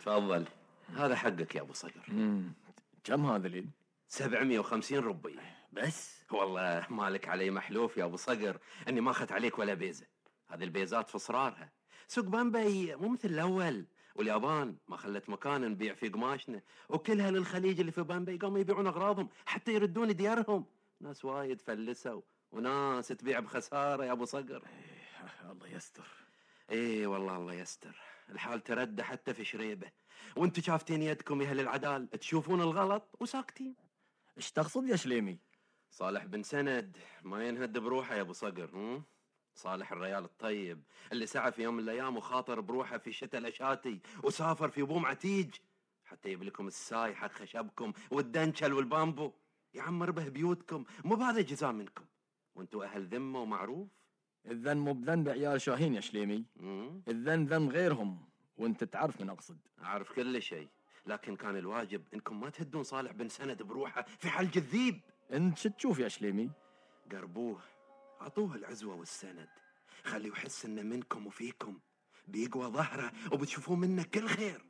تفضل، هذا حقك يا ابو صقر. كم هذا لين؟ 750 ربي بس. والله مالك علي محلوف يا ابو صقر اني ما اخذت عليك ولا بيزه. هذه البيزات في صرارها. سوق بامبي مو مثل الاول، واليابان ما خلت مكان نبيع فيه قماشنا، وكلها للخليج اللي في بامبي قاموا يبيعون اغراضهم حتى يردون ديارهم. ناس وايد فلسوا وناس تبيع بخساره يا ابو صقر. الله يستر. ايه والله الله يستر. الحال تردى حتى في شريبه، وانتو شافتين يدكم يا اهل العدال تشوفون الغلط وساكتين. ايش تقصد يا شليمي؟ صالح بن سند ما ينهد بروحه يا ابو صقر. صالح الريال الطيب اللي سعى في يوم من الايام وخاطر بروحه في شتاء الاشاتي وسافر في بوم عتيج حتى يجيب لكم الساي حق خشبكم والدنشل والبامبو، يعمر به بيوتكم، مو بهذا جزاء منكم وانتو اهل ذمه ومعروف. الذن مو بذنب عيال شاهين يا شليمي. الذن ذنب غيرهم، وانت تعرف من اقصد. اعرف كل شيء، لكن كان الواجب انكم ما تهدون صالح بن سند بروحه في حلج الذيب. انت شو تشوف يا شليمي؟ قربوه، اعطوه العزوه والسند، خليه يحس انه منكم وفيكم، بيقوى ظهره وبتشوفون منه كل خير.